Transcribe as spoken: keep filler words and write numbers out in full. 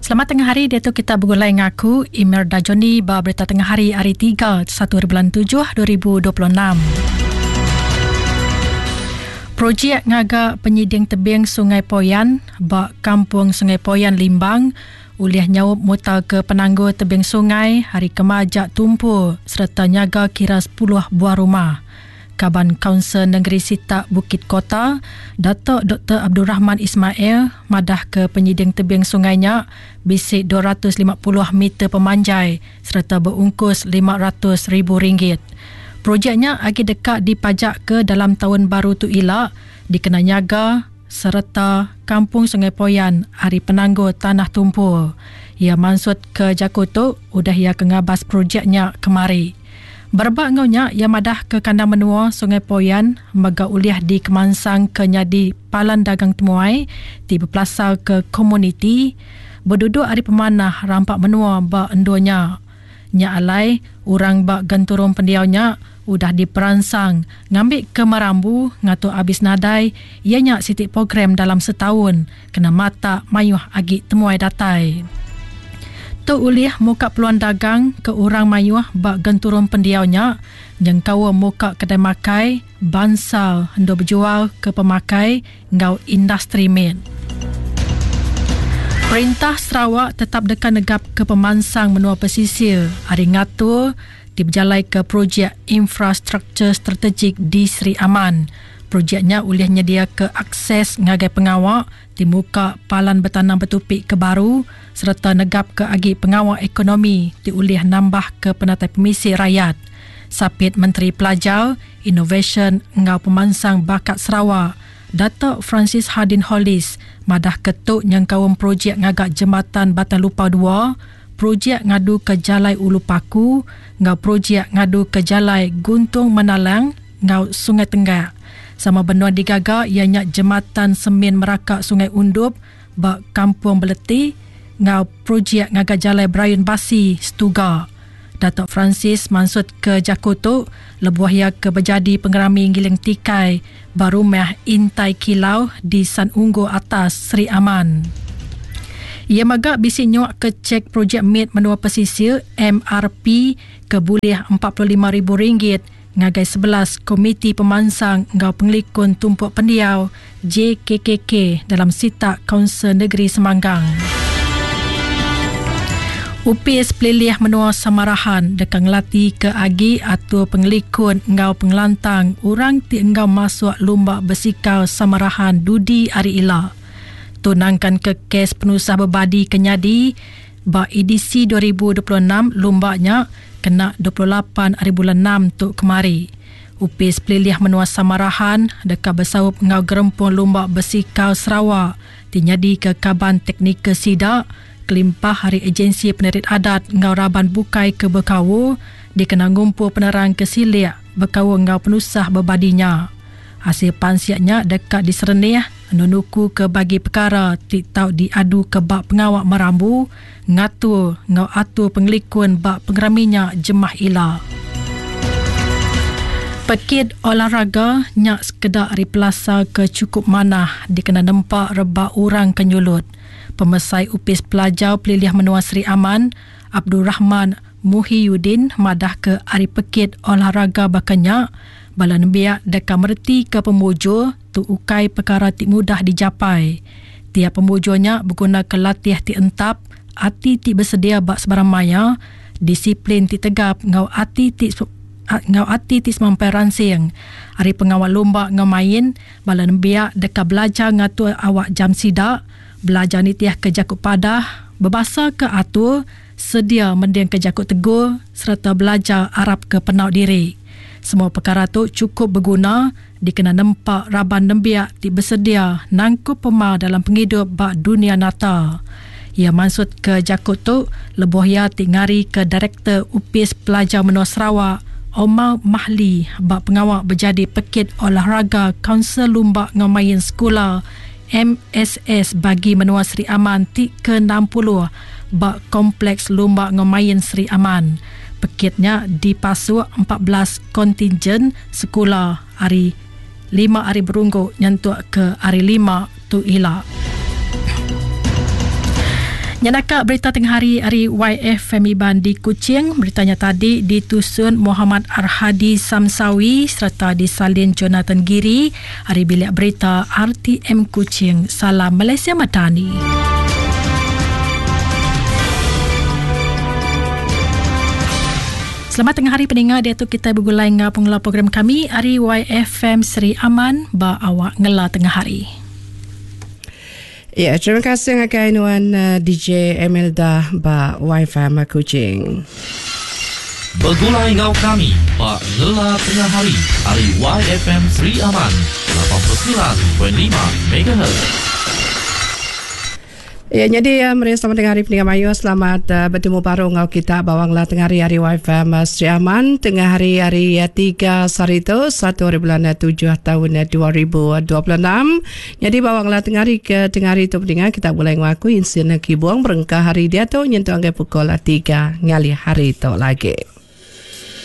Selamat tengah hari dia tu kita bergulai ngaku Imelda Johnny ba berita tengah hari hari tiga satu bulan tujuh dua ribu dua puluh enam. Projek ngaga penyiding tebing Sungai Poyan ba Kampung Sungai Poyan Limbang ulih nyaup mutar ke penanggul tebing sungai hari kemajak tumpul serta nyaga kira sepuluh buah rumah. Kaban Kaunsil Negeri Sitak Bukit Kota, Datuk Doktor Abdul Rahman Ismail madah ke penyiding tebing sungainya bisik dua ratus lima puluh meter pemanjai serta berungkus lima ratus ribu ringgit. Projeknya agi dekat dipajak ke dalam tahun baru tu ila dikena nyaga serta Kampung Sungai Poyan hari penanggul tanah tumpul. Ia maksud ke jaku tu udah ia ke ngabas projeknya kemari. Berebak ngaunya ia madah ke kandang menua Sungai Poyan mega ulih di Kemansang ke nyadi palan dagang temuai ti berpelasar ke komuniti berduduk hari pemanah rampak menua ba enduanya. Nya alai orang ba genturung pendiaunya udah diperansang ngambil ke merambu ngatur abis nadai ianya siti program dalam setahun kena mata mayuh agi temuai datai. Tu ulih muka peluang dagang ke orang mayuh ba genturung pendiaunya nyengkau muka kedai makai bansal endo berjual ke pemakai ngau industri med. Perintah Sarawak tetap dekat negap ke pemansang menua pesisir hari ngatur diberjalai ke projek infrastruktur strategik di Sri Aman. Projeknya ulih nyedia ke akses ngagai pengawak di muka palan bertanam bertupik ke baru serta negap ke agi pengawak ekonomi di ulih nambah ke penatai pemisi rakyat. Sapit Menteri Pelajar, Inovasi ngau Pemansang Bakat Sarawak, Datuk Francis Hardin Hollis madah ketuk nyengkaum projek ngagak jembatan Batang Lupar dua, projek ngadu ke Jalai Ulu Paku, ngau projek ngadu ke Jalai Guntung Menalang ngau Sungai Tenggak. Sama benua digaga ianya jembatan Semin Merakak Sungai Undup ba Kampung Beleti ngau projek ngagak Jalai Brayun Basi Setuga. Datuk Francis maksud ke jaku tu lebuh ia ke berjadi pengerami giling tikai barumah Intai Kilau di San Unggu Atas Sri Aman. Ia maga bisi nyuak ke cek projek mid menua pesisir M R P ke bulih empat puluh lima ribu ringgit ngagai sebelas Komiti Pemansang ngau Pengelikun Tumpuk Pendiau J K K K dalam sitak Kaunsil Negeri Semanggang. U P S Pelilih Menua Samarahan dekat ngelati ke agi atur pengelikun ngau pengelantang orang ti enggau masuk lumba bersikau Samarahan Dudi Ari Ila. Tunangkan ke kes penusah berbadi kenyadi ba E D C dua ribu dua puluh enam lumbaknya kena dua puluh lapan hari bulan enam tu kemari. U P S Pelilih Menua Samarahan dekat bersaup ngau gerempung lumba bersikau Sarawak ti nyadi ke kaban teknikal sidak kelimpah hari agensi penerit adat ngau raban bukai ke berkawu dikena ngumpul penerang ke silik berkawu ngau penusah berbadinya. Hasil pansiaknya dekat diserenih nunuku ke bagi perkara ti tau diadu ke bak pengawak merambu ngatur ngau atur pengelikun bak pengeraminya jemah ila. Pekit olahraga nyak sekedak hari pelasa ke cukup manah dikena nempak rebak orang kenyulut. Pemesai Upis Pelajar Pelilih Menua Sri Aman, Abdul Rahman Muhiyuddin madah ke hari pekit olahraga bakanya bala nembiak deka mereti ke pemujur tu ukai perkara ti mudah dijapai. Tiap pemujurnya berguna ke latih ti entap, ati ti bersedia bak sebarang maya, disiplin ti tegap ngau ati ti ngau ati ti semampai ransing. Hari pengawal lumba ngau main, bala nembiak deka belajar ngatur awak jam sidak, belajar nitiah ke jakut padah, berbahasa ke atur, sedia mending ke jakut tegur serta belajar Arab ke penau diri. Semua perkara tu cukup berguna dikena nempak raban nembiak ti bersedia nangkup pemar dalam penghidup bak dunia nata. Ia maksud ke jakut tu lebuh ia ti ngari ke Direktur Upis Pelajar Menua Sarawak Omar Mahli bak pengawak berjadi pekit olahraga Kaunsil Lumba Ngau Main Sekolah M S S bagi Menua Sri Aman ti ke enam puluh bak Kompleks Lumba Ngau Main Sri Aman. Pekitnya dipasuk empat belas kontingen sekolah hari lima hari berunggu nyentuk ke hari lima tu ila. Nyanaka berita tengah hari hari Y F M Iban di Kuching. Beritanya tadi ditusun Muhammad Arhadi Samsawi serta disalin Jonathan Giri hari bilik berita R T M Kuching. Salam Malaysia Madani. Selamat tengah hari pendengar, dia tu kita bergulai ngau pengelola program kami hari Y F M Seri Aman ba awak ngela tengah hari. Ya, terima kasih ngagai nuan uh, D J Emelda ba Y F M Kuching. Bergulai ngau kami ba ngela tengah hari hari Y F M Seri Aman lapan puluh sembilan titik lima megahertz. Ya, jadi uh, meri selamat tengah hari pendengar mayu, selamat uh, bertemu baru ngau kita bawang lah tengah hari hari Y F M Sri Aman tengah hari hari uh, tiga sehari tu satu hari bulan tujuh tahun dua ribu dua puluh enam. Jadi bawang lah tengah hari ke tengah hari tu pendengar kita boleh ngaku insin kibung berengkah hari dia tu nyentuh anggai pukul tiga ngali hari tu lagi.